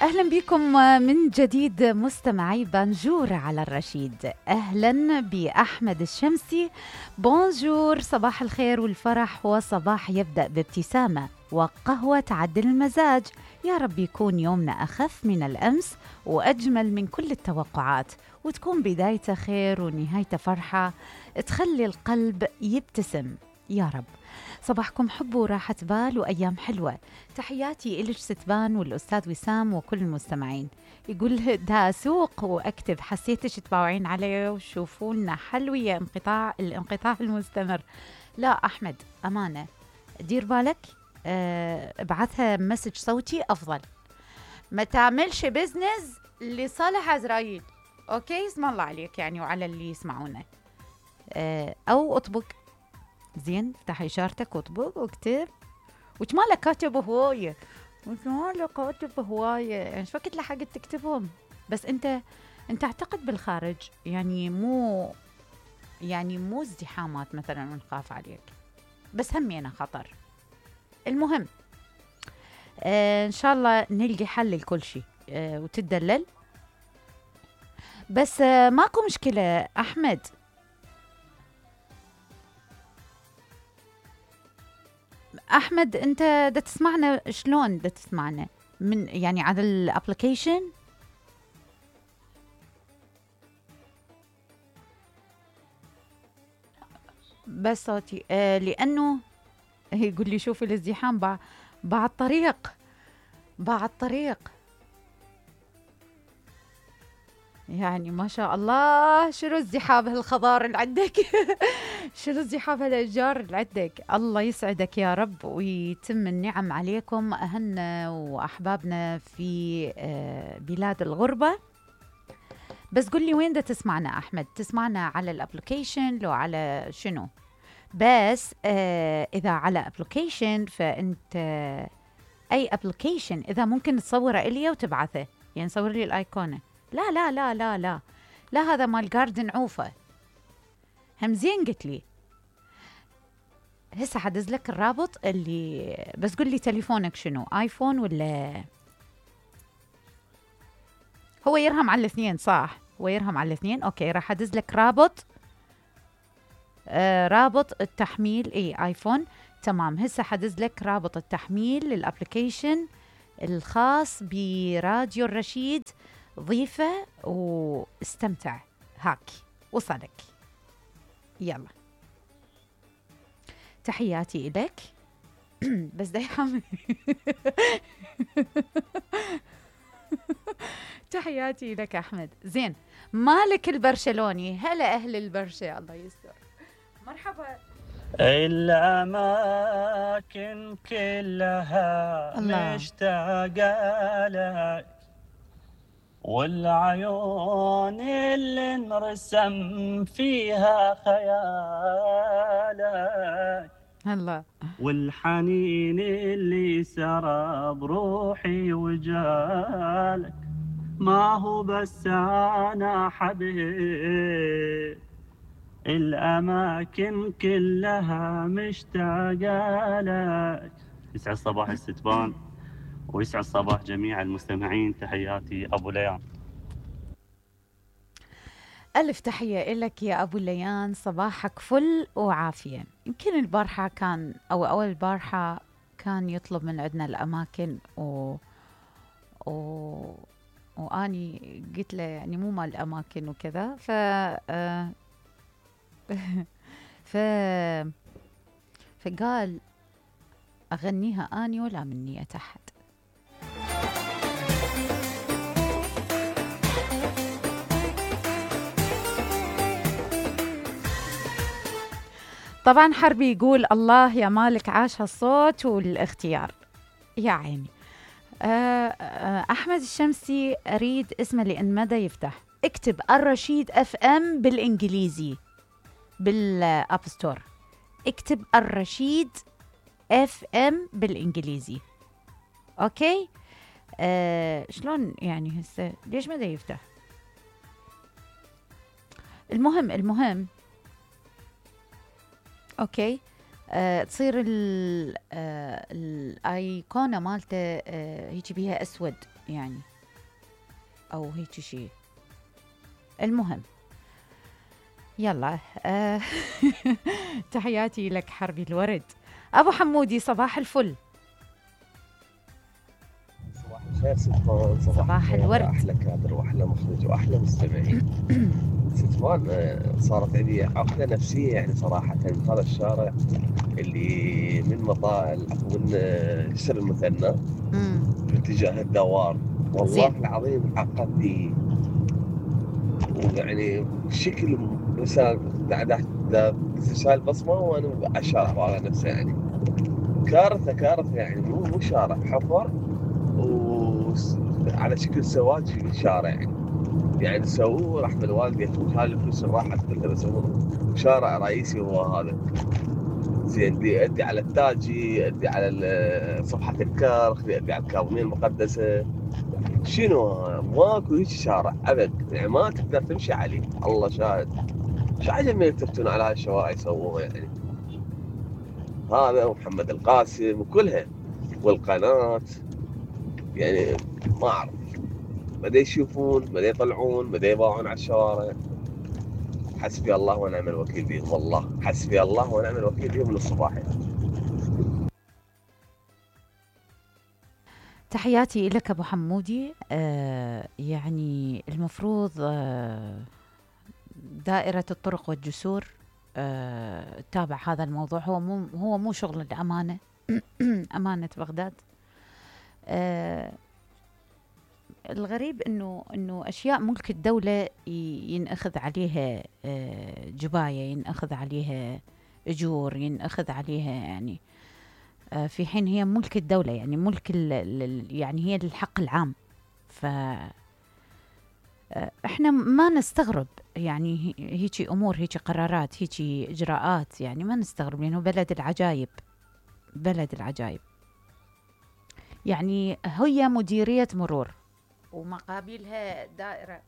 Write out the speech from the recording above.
أهلا بكم من جديد مستمعي بانجور على الرشيد. أهلا بأحمد الشمسي. بونجور، صباح الخير والفرح، وصباح يبدأ بابتسامة وقهوة تعدل المزاج. يا رب يكون يومنا أخف من الأمس وأجمل من كل التوقعات، وتكون بدايته خير ونهايته فرحة تخلي القلب يبتسم يا رب. صباحكم حب وراحة بال وأيام حلوة. تحياتي إلك ستبان والأستاذ وسام وكل المستمعين. يقول دا سوق وأكتب حسيتش تباوعين عليه وشوفوا لنا حل ويا الانقطاع المستمر. لا أحمد أمانة دير بالك، ابعثها مسج صوتي أفضل، ما تعملش بزنس لصالح عزرائيل. أوكي، اسم الله عليك يعني وعلى اللي يسمعونا. أو أطبق زين، افتح إشارتك واطبق واكتب. وش مالك كاتب هواية، يعني شو وقت لحقت تكتبهم. بس انت اعتقد بالخارج يعني مو ازدحامات مثلا ونخاف عليك، بس همينا خطر. المهم ان شاء الله نلقي حل لكل شيء وتدلل. بس ماكو مشكلة أحمد. أحمد أنت دا تسمعنا شلون؟ دا تسمعنا من يعني على الابليكيشن؟ بس صوتي لأنه يقول لي شوفي الازدحام بعد طريق يعني ما شاء الله. شنو ازدحام هالخضار اللي عندك؟ شنو ازدحام هالاشجار اللي عندك؟ الله يسعدك يا رب ويتم النعم عليكم اهلنا واحبابنا في بلاد الغربة. بس قل لي وين دا تسمعنا احمد؟ تسمعنا على الابليكيشن لو على شنو؟ بس اذا على ابليكيشن فانت اي ابليكيشن اذا ممكن تصوره الي وتبعثه، يعني صور لي الايقونه. لا لا لا لا لا لا، هذا مال جاردن عوفة. هم زين قلت لي هسه حدز لك الرابط اللي، بس قل لي تليفونك شنو، ايفون ولا؟ هو يرهم على الاثنين صح؟ هو يرهم على الاثنين. اوكي راح ادز لك رابط رابط التحميل. اي ايفون تمام. هسه حدز لك رابط التحميل للابليكيشن الخاص براديو الرشيد. ضيفه واستمتع. هاك وصلك. يلا تحياتي إليك. بس ده يحمل. تحياتي لك أحمد. زين، مالك البرشلوني؟ هلا أهل البرشا، الله يستر. مرحبا. الأماكن كلها مشتاقة لك، والعيون اللي انرسم فيها خيالك، هلا والحنين اللي سرى بروحي وجالك، ما هو بس أنا حبيب، الأماكن كلها مشتاقة لك. يسعد صباح الستبان ويسعد صباح جميع المستمعين. تحياتي أبو ليان. ألف تحية إلك يا أبو ليان، صباحك فل وعافية. يمكن البارحة كان أول البارحة كان يطلب من عندنا الأماكن وأني قلت له يعني مو مال الأماكن وكذا فقال أغنيها أني ولا مني أحد. طبعا حربي يقول الله يا مالك عاش هالصوت والاختيار يا عيني. أحمد الشمسي أريد اسمه لأن مدى يفتح. اكتب الرشيد اف ام بالإنجليزي بالأب ستور. اكتب الرشيد اف ام بالإنجليزي. أوكي. شلون يعني هسه ليش مدى يفتح؟ المهم اوكي. تصير الايقونه مالته هيك بيها اسود يعني، او هيك شيء. المهم يلا تحياتي لك حربي الورد. ابو حمودي صباح الفل. صباح الخير ستمان، صباح الخير الورد. احلى كادر واحلى مخرج واحلى مستمعين. ستمان، صارت عندي عقده نفسيه يعني صراحه من هذا الشارع اللي من من جسر المثنى باتجاه الدوار. والله العظيم عقدني، ويعني بشكل مثلا تسال البصمه وانا على الشارع على نفسه يعني كارثه يعني، مو شارع، حفر وعلى شكل سواج في الشارع يعني سووه راح بالوالدي هاي الفلوس اللي راحت كلها بسووه شارع رئيسي هو هذا. زين يؤدي على التاجي، يؤدي على صفحة الكرخ، يؤدي على الكاظمية المقدسة. شنو ماكو هيك شارع ابد يعني، ما تقدر تمشي عليه. الله شاهد شو عجب ما يلتفتون على هاي الشوارع يسووها يعني. هذا ومحمد القاسم وكلها والقناة يعني ما اعرف، بدا يشوفون، بدا يطلعون، بدا يباعون على الشوارع. حسبي الله ونعم الوكيل بهم، والله حسبي الله ونعم الوكيل بهم من الصباح يعني. تحياتي لك ابو حمودي. يعني المفروض دائرة الطرق والجسور تتابع هذا الموضوع. هو مو شغل الأمانة أمانة بغداد. الغريب انه اشياء ملك الدولة ينأخذ عليها جباية، ينأخذ عليها اجور، ينأخذ عليها يعني في حين هي ملك الدولة، يعني ملك يعني هي الحق العام. ف احنا ما نستغرب يعني هيجي امور، هيجي قرارات، هيجي اجراءات، يعني ما نستغرب لانه بلد العجائب، بلد العجائب. يعني هي مديرية مرور ومقابلها دائرة